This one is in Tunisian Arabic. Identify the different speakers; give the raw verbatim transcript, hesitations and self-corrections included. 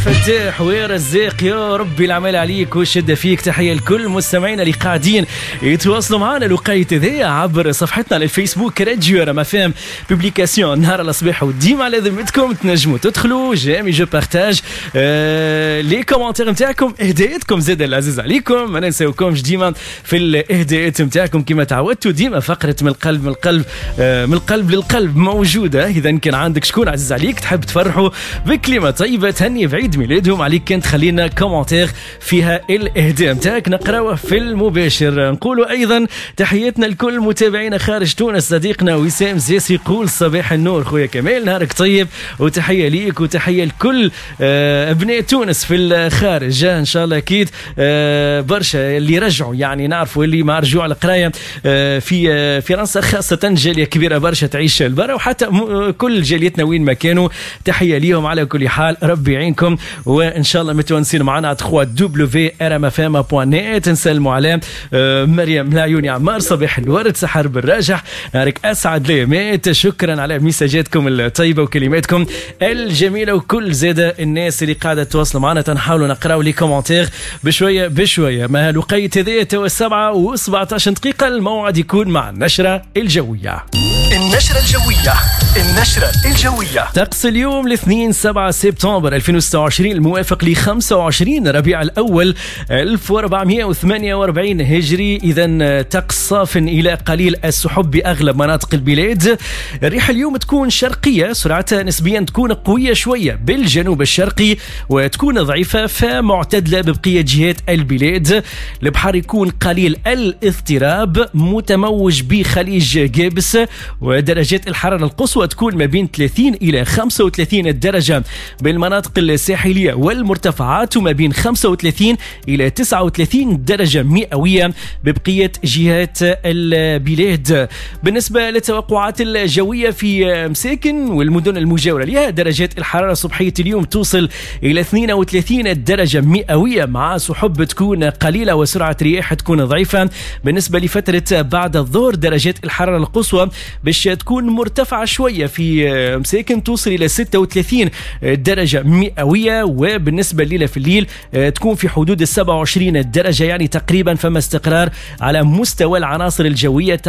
Speaker 1: فتاح ويا رزاق، يا ربي العمل عليك والشدة فيك. تحية لكل مستمعينا اللي قاعدين يتواصلوا معنا الوقيت هذايا عبر صفحتنا على الفيسبوك راديو R M F M، publication نهار الصباح وديما على ذمتكم، تنجموا تدخلوا j'aime، je partage، آه les commentaires نتاعكم، اهداءاتكم زاد العزيز عليكم، ما ننساوكمش ديما في الاهداءات نتاعكم كما تعودتوا. ديما فقرة من القلب من القلب آه من القلب للقلب موجودة. إذا كان عندك شكون عزيز عليك تحب تفرحوا بكلمة طيبة، تهني بعيد ميلادهم، عليك كان تخلينا commentaire فيها الإهداء نتاعك نقراوه في المباشر. نقولوا أيضا تحياتنا لكل متابعينا خارج تونس. صديقنا وسام زيسي يقول صباح النور خويا كمال، نهارك طيب، وتحية ليك وتحية لكل آه، أبناء تونس في الخارج. إن شاء الله أكيد آه، برشا اللي رجعوا، يعني نعرفوا اللي مع رجوع القراية آه، في فرنسا خاصة جالية كبيرة برشا تعيش البرا، وحتى كل جاليتنا وين ما كانوا تحية ليهم. على كل حال ربي يعينكم وإن شاء الله متونسين معنا ثلاثة W R M F M point net. نسلموا على مريم العيوني عمار، صباح الورد، سحر بالراجح، نهارك أسعد ليامات. شكرا على ميساجاتكم الطيبة وكلماتكم الجميلة، وكل زادة الناس اللي قاعدة تواصل معنا تنحاولوا نقراو les commentaires بشوية بشوية. ما الوقيت هذايا توا سبعة وسبعتاش دقيقة، الموعد يكون مع النشرة الجوية.
Speaker 2: النشرة الجوية، النشرة الجوية.
Speaker 1: طقس اليوم الاثنين سبعة سبتمبر ألفين وستة وعشرين الموافق ل خمسة وعشرين ربيع الأول ألف وأربعمائة وثمانية وأربعين هجري. إذا طقس صاف إلى قليل السحب بأغلب مناطق البلاد. الريح اليوم تكون شرقية، سرعتها نسبيا تكون قوية شوية بالجنوب الشرقي وتكون ضعيفة فمعتدلة ببقية جهات البلاد. البحر يكون قليل الاضطراب، متموج بخليج قابس، ودرجات الحرارة القصوى تكون ما بين ثلاثين إلى خمسة وثلاثين درجة بالمناطق الساحلية والمرتفعات، وما بين خمسة وثلاثين إلى تسعة وثلاثين درجة مئوية ببقية جهات البلاد. بالنسبة للتوقعات الجوية في مساكن والمدن المجاورة لها، درجات الحرارة صبحية اليوم توصل إلى اثنين وثلاثين درجة مئوية مع سحب تكون قليلة وسرعة رياح تكون ضعيفة. بالنسبة لفترة بعد الظهر درجات الحرارة القصوى باش تكون مرتفعة شوية في مساكن، توصل إلى ستة وثلاثين درجة مئوية، وبالنسبة الليلة في الليل تكون في حدود السبعة وعشرين درجة، يعني تقريبا فما استقرار على مستوى العناصر الجوية.